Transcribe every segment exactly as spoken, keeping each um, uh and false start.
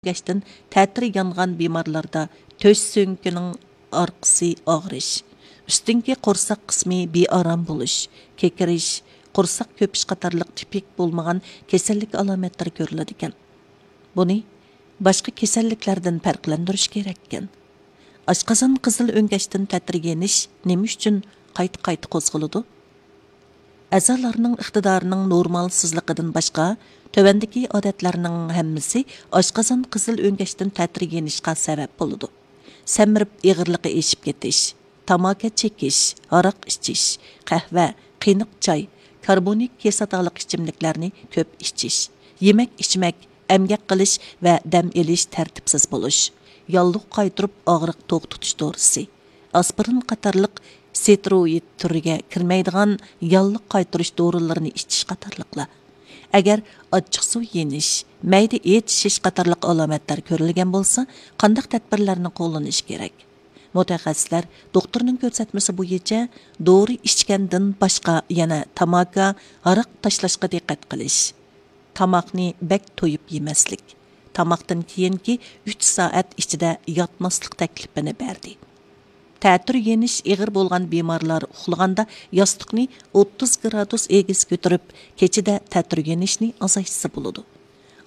ئۆڭگەشتىن تەتۈر يانغان بىمارلاردا تۆش سۆڭىكىنىڭ ئارقىسى ئاغرىش، ئۈستۈنكى قورساق قىسمى بىئارام بولۇش، كېكىرىش، قورساق كۆپۈش قاتارلىق تىپىك بولمىغان كېسەللىك ئالامەتلىرى كۆرۈلىدىكەن. بۇنى باشقا كېسەللىكلەردىن پەرقلەندۈرۈش كېرەككەن. ئاشقازان قىزىل ئۆڭگەشتىن تەتۈر يېنىش نېمە ئۈچۈن قايتا-قايتا قوزغىلىدۇ؟ ئەزالارنىڭ ئىقتىدارىنىڭ نورمالسىزلىقىدىن باشقا، تۆۋەندىكى ئادەتلەرنىڭ ھەممىسى ئاشقازان قىزىل ئۆڭگەشتىن تەتۈر يېنىشقا سەۋەب بولىدۇ. سەمرىپ ئېغىرلىقى ئېشىپ كېتىش، تاماكا چېكىش، ھاراق ئىچىش، قەھۋە، قېنىق چاي، كاربونىك كىسلاتالىق ئىچىملىكلەرنى كۆپ ئىچىش، يېمەك ئىچمەك، ئەمگەك قىلىش ۋە دەم ئېلىش تەرتىپسىز بولۇش، ياللۇغ قايتۇرۇپ ئاغرىق توختىتىش دورىسى، ئاسپىرىن قاتارلىق ستېروئىد تۈرىگە كىرمەيدىغان ياللۇغ قايتۇرۇش دورىلىرىنى ئىچىش قاتارلىقلار. ئەگەر ئاچچىقسۇ يېنىش، مەيدە ئېچىشىش قاتارلىق ئالامەتلەر كۆرۈلگەن بولسا، قانداق تەدبىرلەرنى قوللىنىش كېرەك؟ مۇتەخەسسىسلەر دوختۇرنىڭ كۆرسەتمىسى بويىچە دورا ئىچكەندىن باشقا يەنە تاماكا، ھاراق تاشلاشقا دىققەت قىلىش، تاماقنى بەك تويۇپ يېمەسلىك، تاماقتىن كېيىنكى ئۈچ سائەت ئىچىدە ياتماسلىق تەكلىپىنى بەردى. تەتۈر يېنىش ئېغىر بولغان بىمارلار ئۇخلىغاندا ياستۇقنى ئوتتۇز گرادۇس ئېگىز كۆتۈرۈپ، كېچىدە تەتۈر يېنىشنى ئازايتسا بولىدۇ.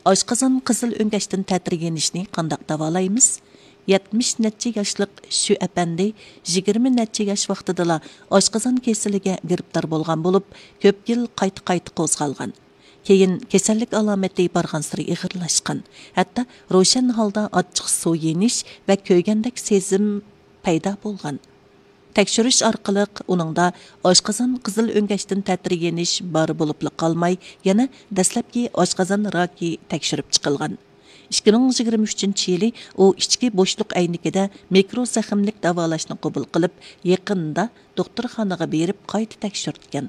ئاشقازان قىزىل ئۆڭگەشتىن تەتۈر يېنىشنى قانداق داۋالايمىز؟ يەتمىش نەچچە ياشلىق شۈ ئەپەندى يىگىرمە نەچچە ياش ۋاقتىدىلا ئاشقازان كېسىلىگە گىرىپتار بولغان بولۇپ، كۆپ يىل قايتا-قايتا قوزغالغان. كېيىن كېسەللىك ئالامىتى بارغانسېرى ئېغىرلاشقان، ھەتتا روشەن ھالدا ئاچچىقسۇ يېنىش ۋە كۆيگەندەك سېزىم پەيدا بولغان. تەكشۈرۈش ئارقىلىق ئۇنىڭدا ئاشقازان قىزىل ئۆڭگەشتىن تەتۈر يېنىش بار بولۇپلا قالماي، يەنە دەسلەپكى ئاشقازان راكى تەكشۈرۈپ چىقىلغان. ئىككى مىڭ يىگىرمە ئۈچىنچى يىلى ئۇ ئىچكى بوشلۇق ئەينىكىدە مىكرو زەخىملىك داۋالاشنى قوبۇل قىلىپ، يېقىندا دوختۇرخانىغا بېرىپ قايتا تەكشۈرتكەن.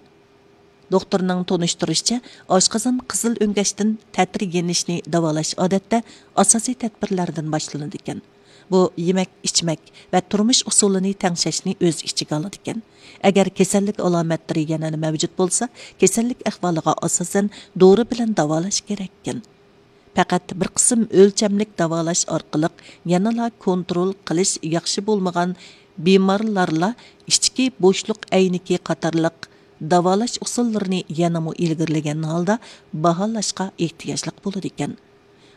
دوختۇرنىڭ تونۇشتۇرۇشىچە، ئاشقازان قىزىل ئۆڭگەشتىن تەتۈر يېنىشنى داۋالاش ئادەتتە ئاساسىي تەدبىرلەردىن باشلىنىدىكەن. بۇ يېمەك، ئىچمەك ۋە تۇرمۇش ئۇسۇلىنى تەڭشەشنى ئۆز ئىچىگە ئالىدىكەن. ئەگەر كېسەللىك ئالامەتلىرى يەنىلا مەۋجۇت بولسا، كېسەللىك ئەھۋالىغا ئاساسەن دورا بىلەن داۋالاش كېرەككەن. پەقەت بىر قىسىم ئۆلچەملىك داۋالاش ئارقىلىق يەنىلا كونترول قىلىش ياخشى بولمىغان بىمارلارلا ئىچكى بوشلۇق ئەينىكى قاتارلىق داۋالاش ئۇسۇللىرىنى يەنىمۇ ئىلگىرىلىگەن ھالدا باھالاشقا ئېھتىياجلىق بولىدىكەن.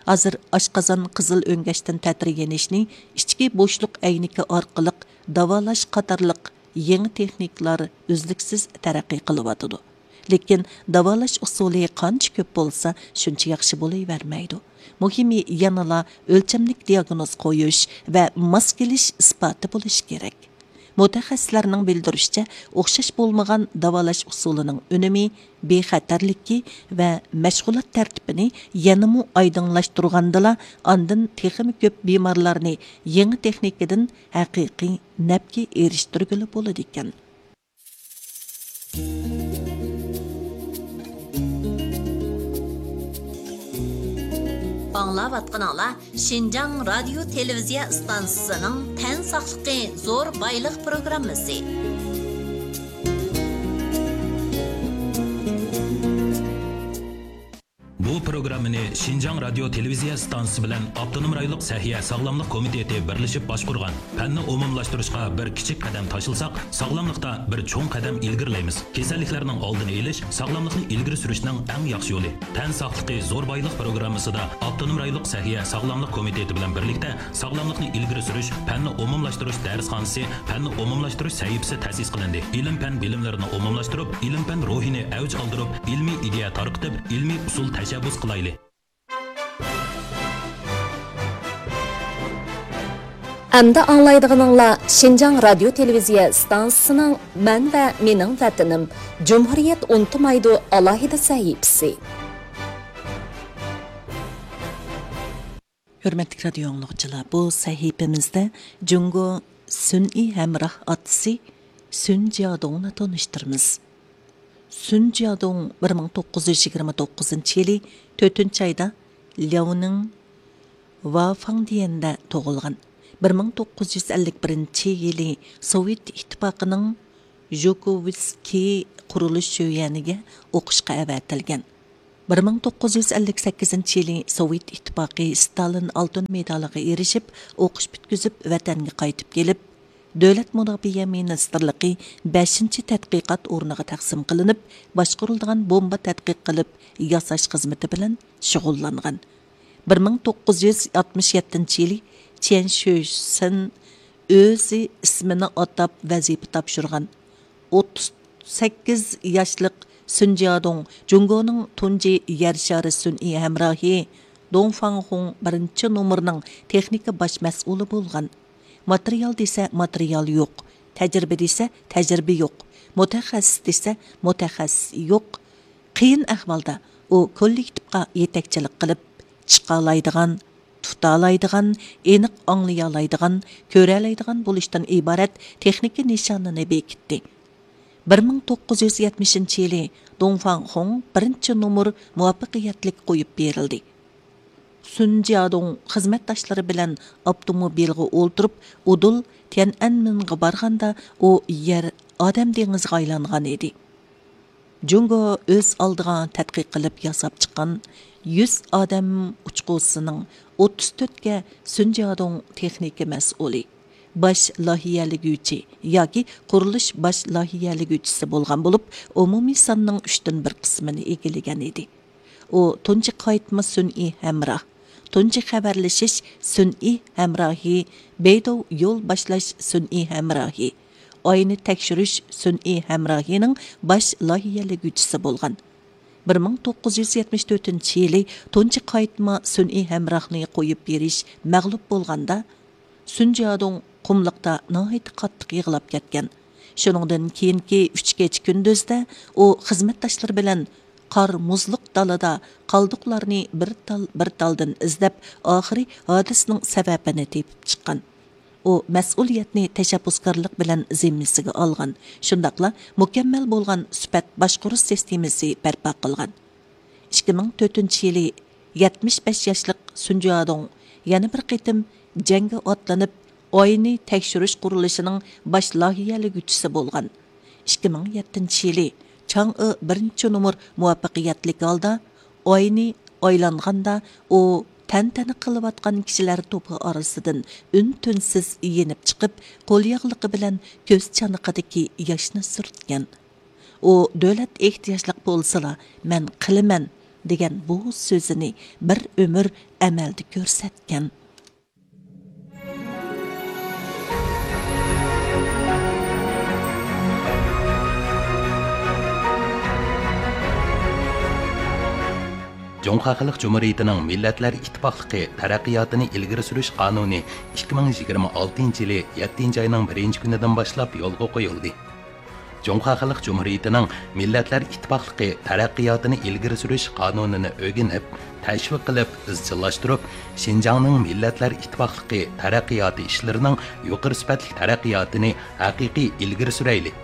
ھازىر ئاشقازان قىزىل ئۆڭگەشتىن تەتۈر يېنىشنى ئىچكى بوشلۇق ئەينىكى ئارقىلىق داۋالاش قاتارلىق يېڭى تېخنىكىلار ئۈزلۈكسىز تەرەققىي قىلىۋاتىدۇ. لېكىن داۋالاش ئۇسۇلى قانچە كۆپ بولسا، شۇنچە ياخشى بولۇۋەرمەيدۇ. مۇھىمى، يەنىلا ئۆلچەملىك دىياگنوز قويۇش ۋە ماس كېلىش ئىسپاتى بولۇشى كېرەك. مۇتەخەسسىسلەرنىڭ بىلدۈرۈشىچە، ئوخشاش بولمىغان داۋالاش ئۇسۇلىنىڭ ئۈنۈمى، بىخەتەرلىكى ۋە مەشغۇلات تەرتىپىنى يەنىمۇ ئايدىڭلاشتۇرغاندىلا، ئاندىن تېخىمۇ كۆپ بىمارلارنى يېڭى تېخنىكىدىن ھەقىقىي نەپكە ئېرىشتۈرگىلى بولىدىكەن. ئاڭلاۋاتقىنىڭلار شىنجاڭ رادىيو تېلېۋىزىيە ئىستانسىسىنىڭ تەن ساقلىقى زور بايلىق پروگراممىسى. بۇ پروگراممىنى شىنجاڭ رادىيو تېلېۋىزىيە ئىستانسىسى بىلەن ئاپتونوم رايونلۇق سەھىيە ساغلاملىق كومىتېتى بىرلىشىپ باشقۇرغان. پەننى ئومۇملاشتۇرۇشقا بىر كىچىك قەدەم تاشلىساق، ساغلاملىقتا بىر چوڭ قەدەم ئىلگىرىلەيمىز. كېسەللىكلەرنىڭ ئالدىنى ئېلىش، ساغلاملىقنى ئىلگىرى سۈرۈشنىڭ ئەڭ ياخشى يولى. تەن ساقلىقى زور بايلىق پروگراممىسىدا ئاپتونوم رايونلۇق سەھىيە ساغلاملىق كومىتېتى بىلەن بىرلىكتە ساغلاملىقنى ئىلگىرى سۈرۈش، پەننى ئومۇملاشتۇرۇش دەرسخانىسى، پەننى ئومۇملاشتۇرۇش سەھىپىسى تەسىس قىلىندى. ئىلىم-پەن بىلىملىرىنى ئومۇملاشتۇرۇپ، ئىلىم-پەن روھىنى ئەۋج ئالدۇرۇپ، ئىلمىي ئىدىيە تارقىتىپ، ئىلمىي ئۇسۇل تەشەببۇس قىلايلى. ئەمدى ئاڭلايدىغىنىڭلار شىنجاڭ رادىيو تېلېۋىزىيە ئىستانسىسىنىڭ مەن ۋە مېنىڭ ۋەتىنىم، جۇمھۇرىيەت ئۇنتۇمايدۇ ئالاھىدە سەھىپىسى. ھۆرمەتلىك رادىيو ئاڭلىغۇچىلار، بۇ سەھىپىمىزدە جۇڭگو سۈنئىي ھەمراھ ئاتىسى سۈن جيادۇڭنى تونۇشتۇرىمىز. سۈن جيادۇڭ بىر مىڭ توققۇز يۈز يىگىرمە توققۇزىنچى يىلى تۆتىنچى ئايدا لياۋنىڭ ۋافاڭدىيەندە تۇغۇلغان. بىر مىڭ توققۇز يۈز ئەللىك بىرىنچى يىلى سوۋېت ئىتتىپاقىنىڭ ژۇكوۋسكىي قۇرۇلۇش شۆيۈەنىگە ئوقۇشقا ئەۋەتىلگەن. بىر مىڭ توققۇز يۈز ئەللىك سەككىزىنچى يىلى سوۋېت ئىتتىپاقى ستالىن ئالتۇن مېدالىغا ئېرىشىپ، ئوقۇش پۈتكۈزۈپ، ۋەتەنگە قايتىپ كېلىپ، دۆلەت مۇداپىئە مىنىستىرلىقى بەشىنچى تەتقىقات ئورنىغا تەقسىم قىلىنىپ، باشقۇرۇلىدىغان بومبا تەتقىق قىلىپ ياساش خىزمىتى بىلەن شۇغۇللانغان. بىر مىڭ توققۇز يۈز ئاتمىش يەتتىنچى يىلى چيەن شۈسىن ئۆزى ئىسمىنى ئاتاپ ۋەزىپە تاپشۇرغان. ئوتتۇز سەككىز ياشلىق سۈن جيادۇڭ جۇڭگونىڭ تۇنجى يەر شارى سۈنئىي ھەمراھى دۇڭ فاڭخۇڭ بىرىنچى نومۇرنىڭ تېخنىكا باش مەسئۇلى بولغان. ماتېرىيال دېسە ماتېرىيال يوق، تەجرىبە دېسە تەجرىبە يوق، مۇتەخەسسىس دېسە مۇتەخەسسىس يوق. قىيىن ئەھۋالدا ئۇ كوللېكتىپقا يېتەكچىلىك قىلىپ، چىقالايدىغان، تۇتالايدىغان، ئېنىق ئاڭلىيالايدىغان، كۆرەلەيدىغان بولۇشتىن ئىبارەت تېخنىكا نىشانىنى بېكىتتى. بىر مىڭ توققۇز يۈز يەتمىشىنچى يىلى دۇڭ فاڭخۇڭ بىرىنچى نومۇر مۇۋەپپەقىيەتلىك قويۇپ بېرىلدى. سۈن جيادۇڭ خىزمەتداشلىرى بىلەن ئاپتوموبىلغا ئولتۇرۇپ، ئۇدۇل تيەنئەنمېنغا بارغاندا، ئۇ يەر ئادەم دېڭىزىغا ئايلانغان ئىدى. جۇڭگو ئۆز ئالدىغا تەتقىق قىلىپ ياساپ چىققان يۈز ئادەم ئۇچقۇسىنىڭ ئوتتۇز تۆتكە سۈن جيادۇڭ تېخنىكا مەسئۇلى، باش لايىھەلىگۈچى ياكى قۇرۇلۇش باش لايىھەلىگۈچىسى بولغان بولۇپ، ئومۇمىي ساننىڭ ئۈچتىن بىر قىسمىنى ئىگىلىگەن ئىدى. ئۇ تۇنجى قايتما سۈنئىي ھەمراھ، تۇنجى خەۋەرلىشىش سۈنئىي ھەمراھى، بەيدۇ يول باشلاش سۈنئىي ھەمراھى، ئاينى تەكشۈرۈش سۈنئىي ھەمراھىنىڭ باش لايىھەلىگۈچىسى بولغان. بىر مىڭ توققۇز يۈز يەتمىش تۆتىنچى يىلى تۇنجى قايتما سۈنئىي ھەمراھنى قويۇپ بېرىش مەغلۇپ بولغاندا، سۈن جيادۇڭ قۇملۇقتا ناھايىتى قاتتىق يىغلاپ كەتكەن. شۇنىڭدىن كېيىنكى ئۈچ كېچە كۈندۈزدە ئۇ خىزمەتداشلىرى بىلەن قار مۇزلۇق دالىدا قالدۇقلارنى بىر تال، بىر تالدىن ئىزدەپ، ئاخىرى ھادىسىنىڭ سەۋەبىنى تېپىپ چىققان. ئۇ مەسئۇلىيەتنى تەشەببۇسكارلىق بىلەن زىممىسىگە ئالغان، شۇنداقلا مۇكەممەل بولغان سۈپەت باشقۇرۇش سىستېمىسى بەرپا قىلغان. ئىككى مىڭ تۆتىنچى يىلى يەتمىش بەش ياشلىق سۈن جيادۇڭ يەنە بىر قېتىم جەڭگە ئاتلىنىپ، ئاينى تەكشۈرۈش قۇرۇلۇشىنىڭ باش لايىھەلىگۈچىسى بولغان. ئىككى مىڭ يەتتىنچى يىلى چاڭ ئې بىرىنچى نومۇر مۇۋەپپەقىيەتلىك ھالدا ئاينى ئايلانغاندا، ئۇ تەنتەنە قىلىۋاتقان كىشىلەر توپى ئارىسىدىن ئۈن-تىنسىز يېنىپ چىقىپ، قول ياغلىقى بىلەن كۆز چانىقىدىكى ياشنى سۈرتكەن. ئۇ دۆلەت ئېھتىياجلىق بولسىلا، مەن قىلىمەن دېگەن بۇ سۆزىنى بىر ئۆمۈر ئەمەلدە كۆرسەتكەن. جۇڭخۇا خەلق جۇمھۇرىيىتىنىڭ مىللەتلەر ئىتتىپاقلىقى تەرەققىياتىنى ئىلگىرى سۈرۈش قانۇنى ئىككى مىڭ يىگىرمە ئالتىنچى يىلى يەتتىنچى ئاينىڭ بىرىنچى كۈنىدىن باشلاپ يولغا قويۇلدى. جۇڭخۇا خەلق جۇمھۇرىيىتىنىڭ مىللەتلەر ئىتتىپاقلىقى تەرەققىياتىنى ئىلگىرى سۈرۈش قانۇنىنى ئۆگىنىپ، تەشۋىق قىلىپ، ئىزچىللاشتۇرۇپ، شىنجاڭنىڭ مىللەتلەر ئىتتىپاقلىقى تەرەققىياتى ئىشلىرىنىڭ يۇقىرى سۈپەتلىك تەرەققىياتىنى ھەقىقىي ئىلگىرى سۈرەيلى!